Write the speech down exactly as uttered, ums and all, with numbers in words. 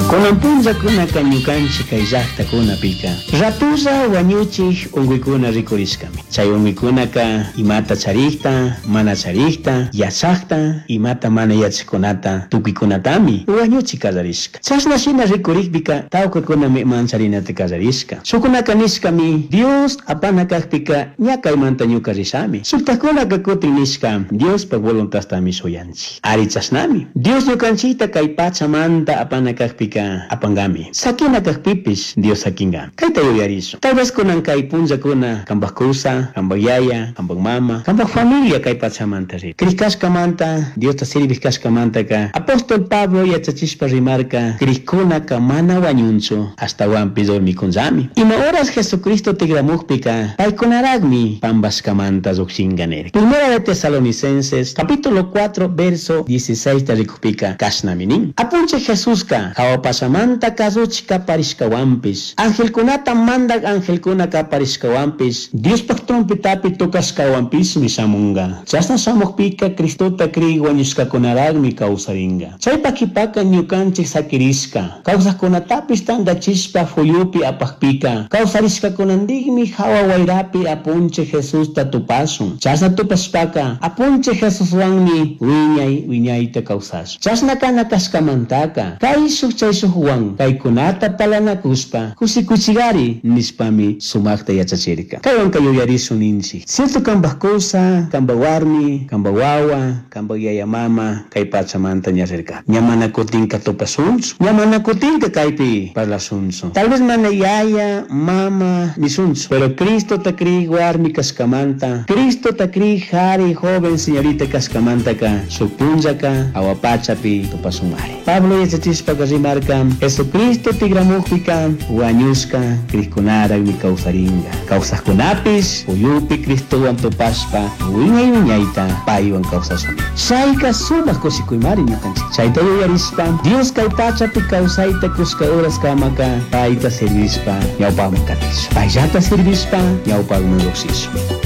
Kunan punllakunaka ñukanchik kay llaktakunapika ratulla wañuchik unkuykuna rikurishkami. Chay unkuykunaka imata charikta, mana charikta, yachakta, imata mana yachakkunata tukuykunatami wañuchi kallarishka. Chashna shina rikurikpika tawkakunami mancharinata kallarishka. Shukkunaka nishkami Dios apana kakpika ña kaymanta ñuka rishami. Shuktakunaka kutin nishka Diospak voluntadtami shuyanchik. Ari chashnami. Dios ñukanchikta kay pachamanta apana kakpika apangami. Sakina kakpipish Dios sakinkami. Kayta yuyarishun. Tal vez kunan kay punllakuna kampak kusa, kampak yaya, kampak mama, kampak familia kay pachamanta rir. Krish kashkamanta, Diosta sirvik kashkamantaka apóstol Pablo yachachishpa rimarka krikkunaka mana wañunchu ashtawanpish dormikunllami. Ima horas Jesucristo tikramukpika paykunaraqmi pampashkamanta llukshinka nirka. Primera de Tesalonicenses capítulo cuatro verso dieciséis ta rikukpika kashnami nin. Apunchik Jesuska hawa pachamanta kasuchik kaparishkawanpish, angelkunata mandak angelkuna kaparishkawanpish, Diospaj trompetapi tocashkawanpishmi shamunga. Chashna shamukpika Cristota krik wañushkakunaraqmi kawsaringa. Chaypa kipaka ñukanchik sakirishka, kawsaqkunatapish tantachishpa fuyupi apakpika, kawsarishkakunantikmi hawa wayrapi apunchik Jesusta tupashun. Chashna tupashpaka apunchik Jesuswanmi wiñay wiñayta kawsashun. Chashna kana kashkamantaka kayshuk chayshukwan kaykunata palanakushpa kushikuchigari nishpami sumakta yachachirka. Kaywanka yuyarishun ninchik. Cierto kampak kusa, kampak warmi, kampak wawa, kampak yaya mama kay pachamanta ña rirka. Ña mana kutinka tupashunchu, ña mana kutinka kaypi parlashunchu. Tal vez mana yaya, mama nishunchu, pero Cristota krik warmi kashkamanta, Cristota krik jari joven señorita kashkamantaka shuk punllaka hawa pachapi tupashunmari. Pablo yachachishpaka rimarka Jesucristo tikramukpika wañushka krikkunaraqmi kawsarinka. Kawsaqkunapish puyupi Cristowan tupashpa wiñay wiñayta paywan kawsashun. Chayka sumak kushikuymari ñukanchik. Chayta yuyarishpa Dios kay pachapi kawsayta kushka horas kamaka payta sirvishpa ñawpaqman katishun. Payllata sirvishpa ñawpaqman lluqshishun.